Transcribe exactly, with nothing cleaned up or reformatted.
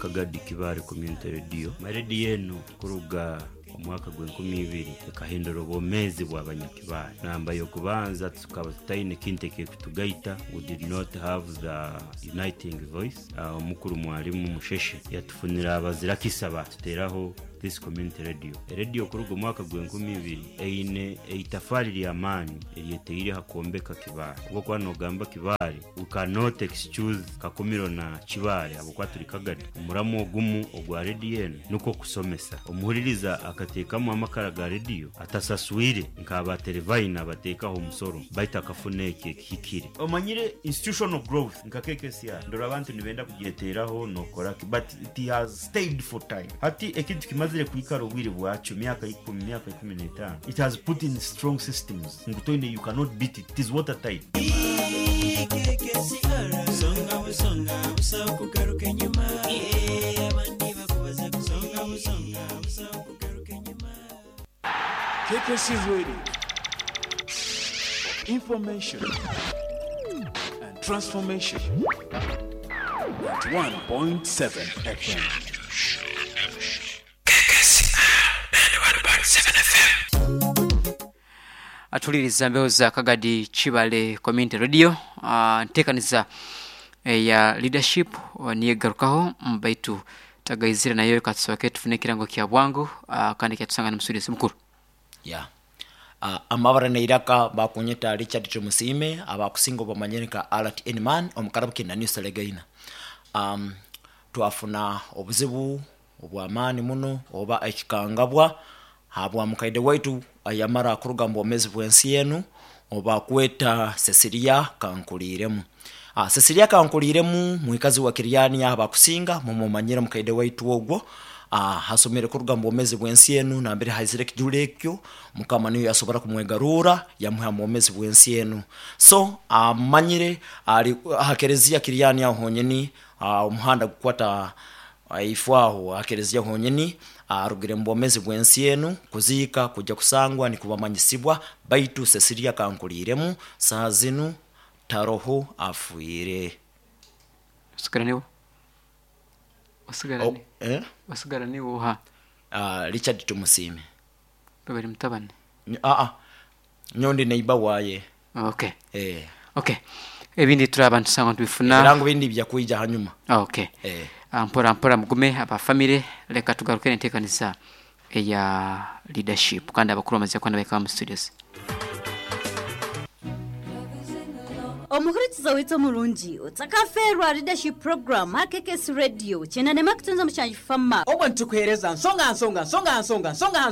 Kagadi Kibaale Community Radio. Radio enu kuruga omwaka gw'enkumi ibiri ekahindura obwomeezi bw'abanyakibaale. Namba y'okubanza, tukaba tutaine kintu ekikutugaita. We did not have the uniting voice. uh, omukuru Mwalimu Musheshe yatufunira abazirakisa, batuteraho this community radio. Radio kuruga omwaka gw'enkumi ibiri eine eitafaali ly'amaani eryeteire ha kwombeka Kibaale. Obwokuba nogamba Kibaale, we cannot excuse Kakumiro na Kibaale habwokuba turi Kagadi. Omuramu ogumu ogwa rediyo enu nukwo kusomesa omuhuliriza, akateekamu amakara ga rediyo atasaswire nk'aba Terefayina abateekaho omusoro, baitu akafuna eki ekihikire. Omanyire, institutional growth nka K K C R, ndora abantu nibenda kugyeteraho nokoraki, but it has stayed for time. Hati ekintu kimazire kwikara obwire bwakyo, myaka ikumi, myaka ikumi n'etaano, it has put in strong systems ngu toine, you cannot beat it, it is watertight. Songa busonga busawo kugaruka enyuma. Eh, abandi bakubaza. Songa busonga busawo kugaruka enyuma. K K C Radio. Information and transformation. ninety-one point seven F M. ninety-one point seven F M. Atuliriza mbeho za Kagadi Kibale Community Radio. uh, ntekaniza eya leadership uh, niyegarukaho mbaitu tagaizire nayo. Katusoke tufune ekirango kya bwangu uh, kandi kyatusanga n'omusudizi mukuru. Ya, uh, amabara neiraka bakunyeta Richard Tumusiime, abakusinga obamanyire nka Art Nman omukarabu kinaniuselegaina. um, twafuna obuzibu obwamaani muno oba ekikangabwa habwa mukaide waitu ayamara kuruga mu bwomezi bw'ensi enu, oba kweta Cecilia Kankuliiremu. Ah, Cecilia Kankuliiremu mwikazi wa Kiryani, abakusinga mumumanyire mukaide waitu ogwo. ah, hasomere kuruga mu bwomezi bw'ensi enu nambere haizire ekijura ekyo. Mukama niyo yasobora kumwegarura, yamuha mu bwomezi bw'ensi enu. So amanyire ali hakerezia Kiryani aho honyini, ah, omuhanda gukwata ifo aho akerezia honyini. Arugire mu bwomezi bw'ensi enu. Kuziika kujja kusangwa nikubamanyisibwa, baitu Cecilia Kankuliiremu saa zinu taroho, afiire. Osigara niwo osigara Oh, ni eh? Osigara niwo oha? uh, richard Tumusiime. Babiri mutabani? Aa, nyondi neiba waye. Okay. Eh. Okay, ebindi turaba ntusanga tubifuna. Ebirango bindi byakwija hanyuma. Okay. Eh. Ah, mpora mpora, mugume abafamire. Reka tugaruke n'enteekaniza eya leadership, kandi abakuru bamaze kuba nabeka mu studios. Omuhurikiza withu omurungi, otsakaferwa leadership program ha K K C Radio, kyenda nema kutunza mushanju fama. Obwo nitukuheereza nsonga, nsonga, nsonga, nsonga, nsonga, nsonga.